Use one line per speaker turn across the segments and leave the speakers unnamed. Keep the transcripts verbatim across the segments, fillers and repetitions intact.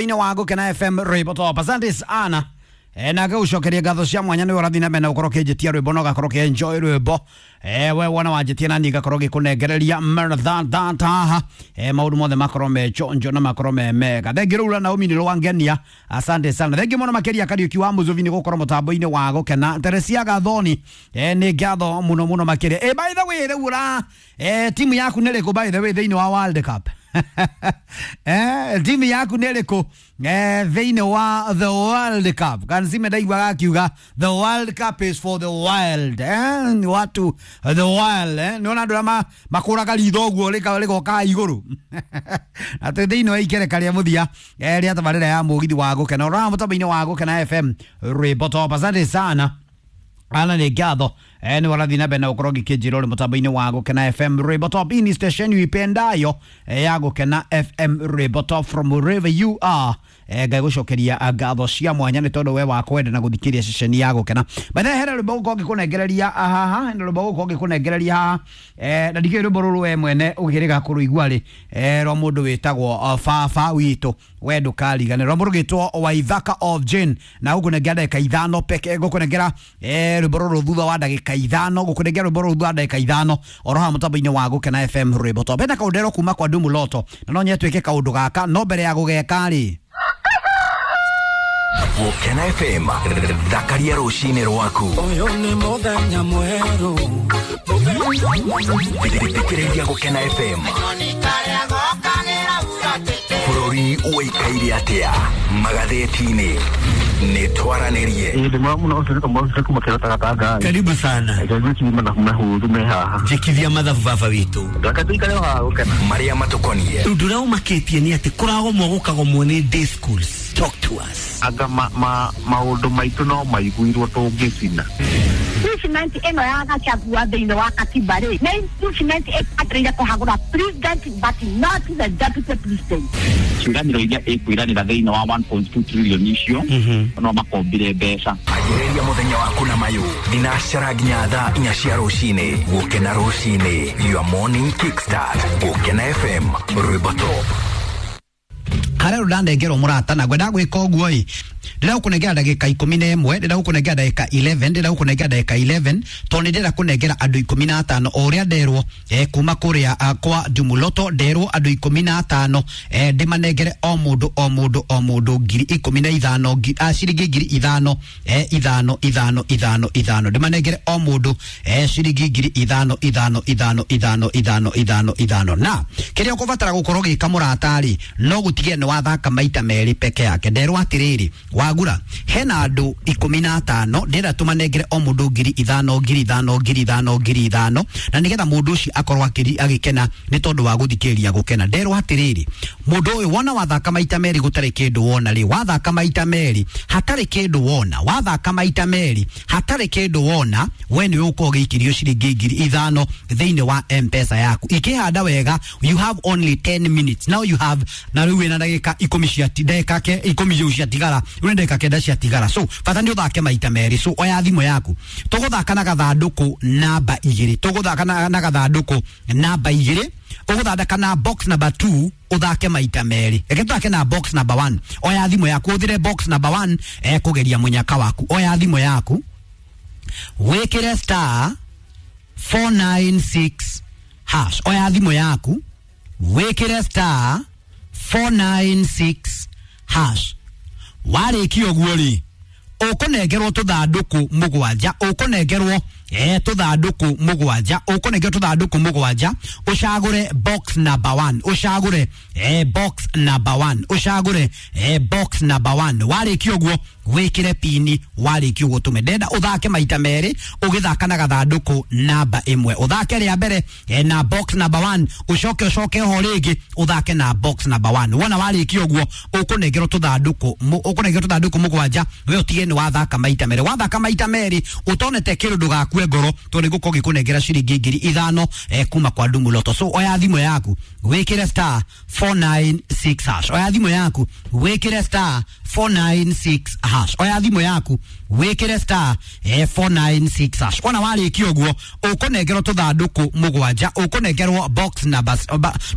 Ine wa Gukena F M rwimbo top. Asante sana. E, na ngĩgũcokeria ngatho cia mwanya nĩ ũrathiĩ na mbere na gũkorwo ũkĩnjĩtia rwĩmbo na ũgakorwo ũkĩenjoy rwĩmbo. E, we wona wanjĩtia na niĩ ngakorwo ngĩkũnengereria mrathatataha. E, maũndũ mothe makorwo me chonjo na makorwo me mega. Thengi rũu Naomi nĩ rwangenia. Asante sana. Thengi mũno makĩria Kariũki wa Mũzũvi nĩ gũkorwo mũtambo-inĩ wa Gũkena. Teresia Gathoni, e, nĩ ngatho mũno mũno makĩria. E, by the way rĩu ũra e, timu yaku nĩ ĩrĩkũ by the way thĩinĩ wa World Cup? Eh, timu yaku nĩ ĩrĩkũ eh, thĩinĩ wa the World Cup? Kanzime ndaiguaga akiuga the World Cup is for the wild. Eh, ni watu the wild, eh, nĩ ona andũ arĩa makũraga ritho ũguo rĩgoka igũrũ. Atĩ thĩinĩ wa ikereka rĩa mũthia eh, rĩa tabarĩra ya mũgithi wa Gũkena ũrora mũtambo-inĩ wa Gũkena F M rwĩmbo top. Asante sana. Ana nĩ ngatho eh, nĩ warathiĩ na mbere na gũkorwo ngĩkĩnjĩra ũrĩ mũtambo-inĩ wa Gũkena F M rwĩmbo top. Hii ni station uipendayo eh, ya Gũkena F M rwĩmbo top from wherever you are. Eh, ngagũcokeria ngatho cia mwanya nĩ tondũ we wa kwenda na gũthikĩrĩria ceceni ya Gũkena. By the way, hena rwĩmbo gũkorwo ngĩkũnengereria haha, hena rwĩmbo gũkorwo ngĩkũnengereria haha eh, na ndikĩũĩ rwĩmbo rũrũ we mwene ũkĩrĩga kũrũigua rĩ eh, rwa mũndũ wĩtagwo uh, baba witũ we ndũkariganĩrwo, rwa mũndũ ũgĩtwo Waithaka of Jane, na gũkũnengera ndagĩka ithano peke, gũkũnengera eh, rwĩmbo rũrũ thutha wa ndagĩka ithano, gũkũnengera rwĩmbo rũrũ thutha wa ndagĩka ithano oro haha mũtambo-inĩ wa Gũkena F M rwĩmbo top. Hena kaũndũ ndero kuma kwa Dumu Loto na no nyende twĩke kaũndũ gaka, no mbere ya gũgeka rĩ
Gũkena F M thakaria rũcinĩ rwaku.
Ũyũ nĩ mũthenya mwerũ.
Thikĩrĩria Gũkena F M. Bũrũri ũikaire atĩa magathĩti-inĩ nĩ twaranĩrie.
Ĩĩ mũno ũcio nĩ mũndũ kuma kĩrota gatanga.
Karibu sana.
Ngai mathabu mahũthũ me haha.
Njĩkithia mathabu baba witũ.
Reke tũikare o haha Gũkena.
Marĩa matũkonie.
Ũndũ ũrĩa ũmakĩtie nĩ atĩ kũragomwo gũkagomwo nĩ day schools. Talk to us.
Anga ma, ma, maũndũ maitũ no maiguirwo tũngĩcina.
Impeachment ĩno ya Gachagua thĩinĩ wa katiba rĩ, nĩ impeachment ĩbataire kũhagũra president but not the deputy president.
Ciĩranĩro iria ĩkwĩranĩra thĩinĩ wa one point two trillion icio no makombire mbeca.
Anjĩrĩria mũthenya waku na mayũ thinacara nginya thaa inya cia rũcinĩ. Gũkena rũcinĩ, your morning kickstart. Gũkena F M rwĩmbo top.
Harĩa rũndanengerwo mũrata na ngwenda gwĩka ũguo ĩ, ndĩrenda gũkũnengera ndagĩka ikũmi na ĩmwe, ndĩrenda gũkũnengera ndagĩka eleven, ndĩrenda gũkũnengera ndagĩka eleven tondũ nĩ ndĩrenda kũnengera andũ ikũmi na atano o ũrĩa nderwo eh, kuma kũrĩa uh, kwa Dumuloto nderwo andũ ikũmi na atano eh, ndĩmanengere o mũndũ o mũndũ o mũndũ ngiri ikũmi na ithano ngi, ah, ciringi ngiri ithano eh, ithano ithano ithano ithano ndĩmanengere o mũndũ eh, ciringi ngiri ithano ithano ithano ithano ithano ithano ithano. Na kĩrĩa ũkũbatara gũkorwo gĩka mũrata rĩ, no gũtigĩrĩra nĩ wathaka maita merĩ peke yake. Nderwo atĩrĩrĩ, wagura hena andũ ikũmi na atano ndĩrenda tũmanengere o mũndũ ngiri ithano ngiri ithano ngiri ithano ngiri ithano na nĩgetha mũndũ ũcio akorwo agĩkena nĩ tondũ wa gũthikĩrĩria Gũkena. Nderwo atĩrĩrĩ, mũndũ ũyũ wona wathaka maita merĩ gũtarĩ kĩndũ wona rĩ, wathaka maita merĩ hatarĩ kĩndũ wona, wathaka maita merĩ hatarĩ kĩndũ wona, we nĩwe ũkorwo ũgĩikĩrio ciringi ngiri ithano thĩinĩ wa M-Pesa yaku. Ikĩhanda wega, you have only ten minutes now, you have na rĩu wĩna ndagĩka ikũmi cia ndagĩka ke ikũmi rĩu ciatigara, rĩu nĩ ndagĩka kenda ciatigara, so bata nĩ ũthake maita merĩ. So oya thimũ yaku, tũgũthaka na gathandũkũ namba igĩrĩ, tũgũthaka na, na gathandũkũ namba igĩrĩ, ũgũthondeka na box number two ũthake maita merĩ. Reke tũthake na box number one. Oya thimũ yaku ũthire box number one eh, kũgeria mũnyaka waku. Oya thimũ yaku wĩkĩre star four nine six hash. Oya thimũ yaku wĩkĩre star four nine six hash. Warĩkia ũguo rĩ, ũkũnengerwo tũthandũkũ mũgwanja, ũkũnengerwo eh, tũthandũkũ mũgwanja, ũkũnengerwo tũthandũkũ mũgwanja, ũcagũre box number one, ũcagũre eh, box number one, ũcagũre eh, box number one. Warĩkia ũguo wĩkĩre pini, warĩkia ũguo tũme. Ndenda ũthake maita merĩ ũgĩthaka na gathandũkũ namba ĩmwe, ũthake rĩa mbere eh, na box number one, ũcoke ũcoke ho rĩngĩ ũthake na box number one. Wona warĩkia ũguo ũkũnengerwo tũthandũkũ, ũkũnengerwo tũthandũkũ mũgwanja, we ũtige nĩ wathaka maita merĩ. Wathaka maita merĩ ũtonete kĩndũ ndũgakue Ndũgakue ngoro tondũ nĩngũkorwo ngĩkũnengera ciringi ngiri ithano eh, kuma kwa Ndumu Lotto. So oya thimũ yaku wĩkĩre star four nine six hash. Oya thimũ yaku wĩkĩre star four nine six hash. Oya thimũ yaku wĩkĩre star eh, four nine six hash. Wona warĩkia ũguo ũkũnengerwo tũthandũkũ mũgwanja, ũkũnengerwo box numbers,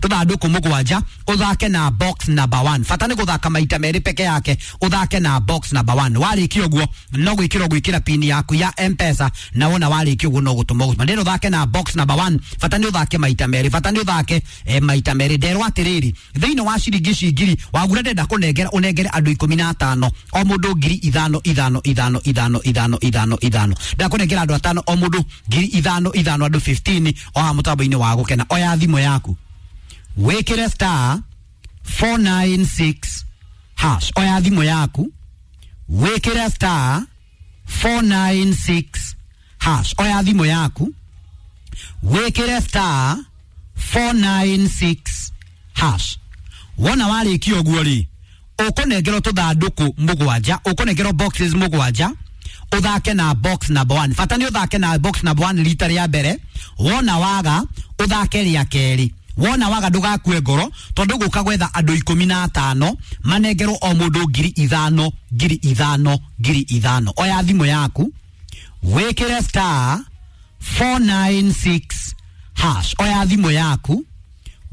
tũthandũkũ mũgwanja, ũthake na box number one. Bata nĩ gũthaka maita merĩ peke yake, ũthake na box number one. Warĩkia ũguo no gwĩkĩra gwĩkĩra pin yaku ya M-Pesa, na wona warĩkia ũguo no gũtũma gũtũma. Ndĩrĩ ũthake na box number one, bata nĩ ũthake maita merĩ, bata nĩ ũthake eh, maita merĩ. Nderwo atĩrĩrĩ, thĩinĩ wa ciringi ici ngiri wagura ndenda kũnengera ũnengere andũ ikũmi na atano, o mũndũ ngiri ithano ithano ithano ithano ithano ithano ithano. Ndakũnengera andũ atano o mũndũ ngiri ithano ithano, andũ fifteen o haha mũtambo-inĩ wa Gũkena. Oya thimũ yaku wĩkĩre star four nine six hash. Oya thimũ yaku wĩkĩre star four nine six hash. Oya thimũ yaku wĩkĩre star four nine six hash. Wona warĩkia ũguo rĩ, ũkũnengerwo tũthandũkũ mũgwanja, ũkũnengerwo boxes mũgwanja, ũthake na box number one. Bata nĩ ũthake na box number one rita rĩa mbere. Wona waga ũthake rĩa kerĩ. Wona waga ndũgakue ngoro tondũ gũka gwetha andũ ikũmi na atano manengerwo o mũndũ ngiri ithano ngiri ithano ngiri ithano. Oya thimũ yaku wĩkĩre star four nine six hash. Oya thimũ yaku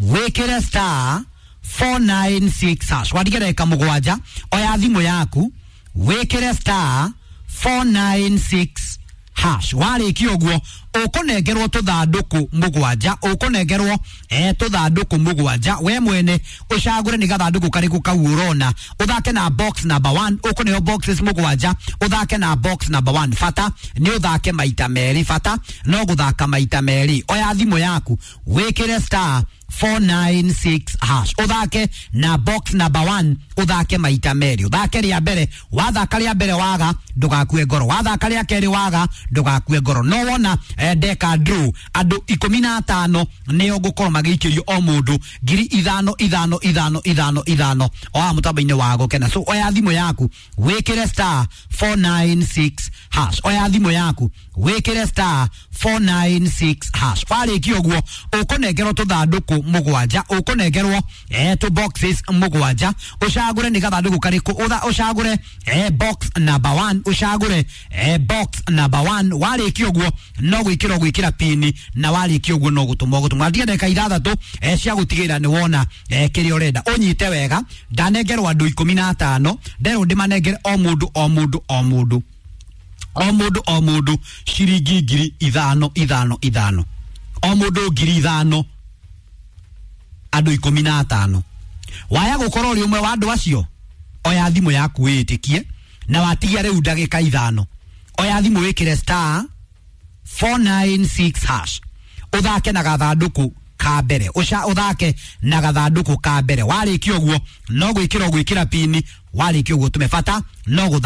wĩkĩre star four nine six hash. Wandike ndagĩka mũgwanja. Oya thimũ yaku wĩkĩre star four nine six hash. Warĩkia ũguo ũkũnengerwo tũthandũkũ mũgwanja, ũkũnengerwo eh, tũthandũkũ mũgwanja. We mwene ũcagũre nĩ gathandũkũ karĩkũ kau ũrona, ũthake na box number one. Ũkũneo boxes mũgwanja, ũthake na box number one. Bata nĩ ũthake maita merĩ, bata no gũthaka maita merĩ. Oya thimũ yaku wĩkĩre star four nine six hash, ũthake na box number one, ũthake maita merĩ. Ũthake rĩa mbere, wathaka rĩa mbere waga ndũgakue ngoro, wathaka rĩa kerĩ waga ndũgakue ngoro. No wona eh, ndeka draw andũ ikũmi na atano nĩo ngũkorwo magĩikĩrio o mũndũ ngiri ithano ithano ithano ithano ithano o haha mũtambo-inĩ wa Gũkena. So oya thimũ yaku wĩkĩre star four nine six hash. Oya thimũ yaku wĩkĩre star four nine six hash. Warĩkia ũguo ũkũnengerwo tũthandũkũ mũgwanja, ũkũnengerwo eh, tũ boxes mũgwanja, ũcagũre nĩ gathandũkũ karĩkũ, ũcagũre eh, box number one, ũcagũre eh, box number one. Warĩkia ũguo no gwĩkĩra gwĩkĩra pini, na warĩkia ũguo no gũtũma gũtũma. Ndiga ndagĩka ithathatũ eh, cia gũtigĩrĩra nĩ wona eh, kĩrĩa ũrenda. Ũnyite wega, ndanengerwo andũ ikũmi na atano, nderwo ndĩmanengere o mũndũ o mũndũ o mũndũ o mũndũ o mũndũ ciringi ngiri ithano ithano ithano, o mũndũ ngiri ithano, andũ ikũmi na atano. Waya gũkorwo ũrĩ ũmwe wa andũ acio, oya thimũ yaku wĩĩtĩkie na watigia rĩu ndagĩka ithano. Oya thimũ wĩkĩre star four nine six hash, ũthake na gathandũkũ ka mbere, ũca ũthake na gathandũkũ ka mbere. Warĩkia ũguo no gwĩkĩra gwĩkĩra pini, warĩkia ũguo tũme bata no gũthaka.